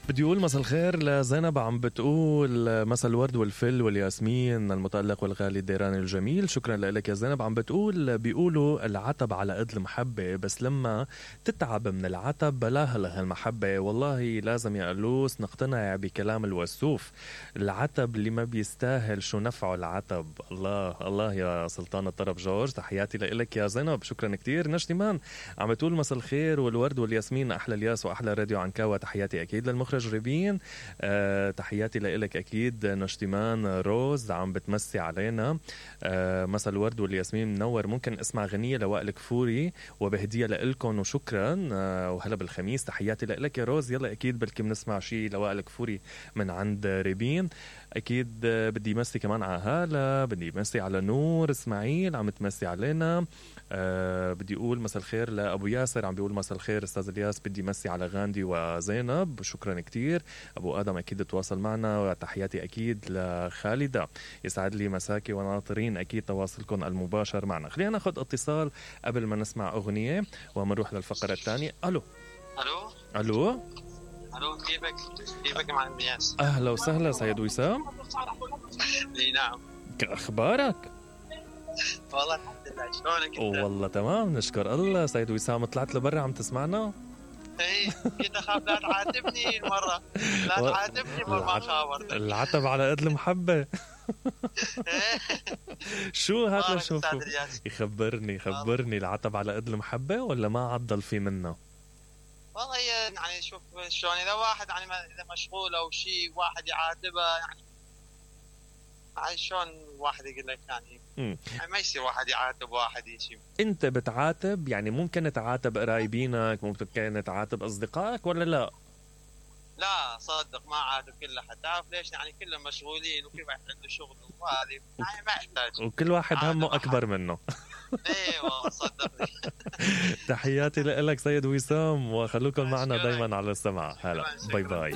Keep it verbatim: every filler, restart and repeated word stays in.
بدي أقول مساء الخير لزينب، عم بتقول مساء الورد والفل والياسمين المتألق والغالي الديران الجميل. شكرا لك يا زينب. عم بتقول بيقولوا العتب على قد المحبة، بس لما تتعب من العتب بلاها لها المحبة. والله لازم يا ألوس نقتنع بكلام الوسوف، العتب اللي ما بيستاهل شو نفعه العتب. الله الله يا سلطان الطرب جورج، تحياتي لك يا زينب، شكرا كتير. نشتمان عم بتقول مساء الخير والورد والياسمين، أحلى الياس وأحلى راديو عنكاوة. تحياتي أكيد للمخرج ريبين، أه تحياتي لك أكيد. نشتمان روز عم بتمسي علينا، أه مساء الورد والياسمين منور. ممكن اسمع غنية لوائل كفوري وبهدية لإلكم وشكرا، أه وهلا بالخميس. تحياتي لك يا روز. يلا أكيد بلكي بنسمع شي لوائل كفوري من عند ريبين أكيد. أه بدي مسي كمان على هالة، بدي مسي على نور إسماعيل عم تمسي علينا. أه بدي أقول مساء الخير لأبو ياسر، عم بيقول مساء الخير أستاذ الياس، بدي مسي على غاندي وزينب، شكرا كتير. أبو آدم أكيد تواصل معنا، وتحياتي أكيد لخالدة، يسعد لي مساكي وناطرين أكيد تواصلكم المباشر معنا. خلينا ناخد اتصال قبل ما نسمع أغنية ومنروح للفقرة الثانية. ألو ألو ألو ألو كيفك كيفك مع المياس؟ أهلا وسهلا سيد وسام. اي نعم، أخبارك؟ والله الحمد لله، شلونك انت؟ والله تمام نشكر الله. سيد وسام طلعت لبرا عم تسمعنا؟ اي كنت اخاف لا تعاتبني المرة، لا و... تعاتبني مرة ما خابرتك. العتب على قد المحبة. شو هذا؟ شوفوا يخبرني خبرني العتب على قد المحبة ولا ما عضل في منه؟ والله يعني شوف شلون، اذا واحد يعني اذا مشغول او شيء واحد يعاتبه يعني يعني شلون واحد يقول لك يعني, يعني ما يصير واحد يعاتب واحد يشي. انت بتعاتب يعني ممكن تعاتب قرايبينك، ممكن تعاتب اصدقائك ولا لا؟ لا صدق ما عاتب كل احد، تعرف ليش؟ يعني كلهم مشغولين وكل واحد عنده شغل وهذه يعني ما يحتاج، وكل واحد همه اكبر منه. ايوه صدقني. تحياتي لك سيد وسام، وخلوكم معنا دايما على السمع. هلا باي باي.